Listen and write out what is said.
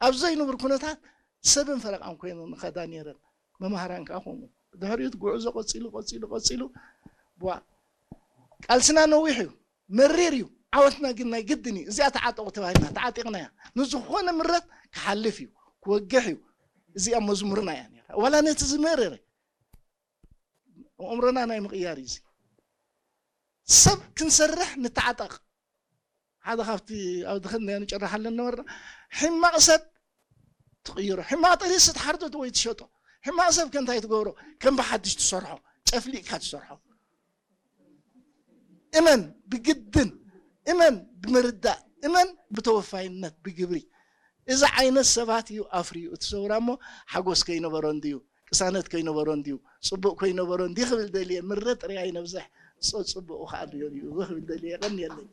ኣብ ዘይንቡር ኩነታት ሰብን ፈረቓን ኮይነን ንኸዳ ነይረን። መማህራን ከዓ ከምኡ። ድሕሪኡ እቲ ጉዕዞ ቀፂሉ፣ ቀፂሉ፣ ቀፂሉ። ቧ፣ ቃልስና ነዊሕ እዩ፣ መሪር እዩ። ዓወትና ግን ናይ ግድን እዩ። እዚኣ ተዓጠቑ ተባሂልና፣ ተዓጢቕናያ። ንዝኾነ ምረት ክሓልፍ እዩ፣ ክወግሕ እዩ። እዚኣ መዝሙርና እያ ነይራ። ዋላ ነቲ ዝመረረ ኣእምሮና ናይ ምቕያር እዩ። እዚ ሰብ ክንሰርሕ ንተዓጠቕ። ሓደ ካብቲ ኣብ ድኽን ናይ ንጨርሓለን ነበርና፣ ሕማቕ ሰብ ትቕይሮ፣ ሕማቕ ጥሪስ ትሓርዶ ወይ ትሸጦ። ሕማቕ ሰብ ከ እንታይ ትገብሮ? ከም ብሓድሽ ትሰርሖ፣ ጨፍሊቕካ ትሰርሖ። እመን፣ ብግድን እመን፣ ብምርዳእ እመን፣ ብተወፋይነት፣ ብግብሪ። እዚ ዓይነት ሰባት እዩ ኣፍርዩ እቲ ሰውራ እሞ፣ ሓጎስ ከይነበሮ እንድዩ፣ ቅሳነት ከይነበሮ እንድዩ፣ ጽቡቕ ከይነበሮ እንድዩ ክብል ደልየ። ምረ ጥራይ ኣይነብዝሕ፣ ጸ-፣ ጽቡቕ ከዓ እንድዮ እዩ ክብል ደልየ። የቐንየለይ።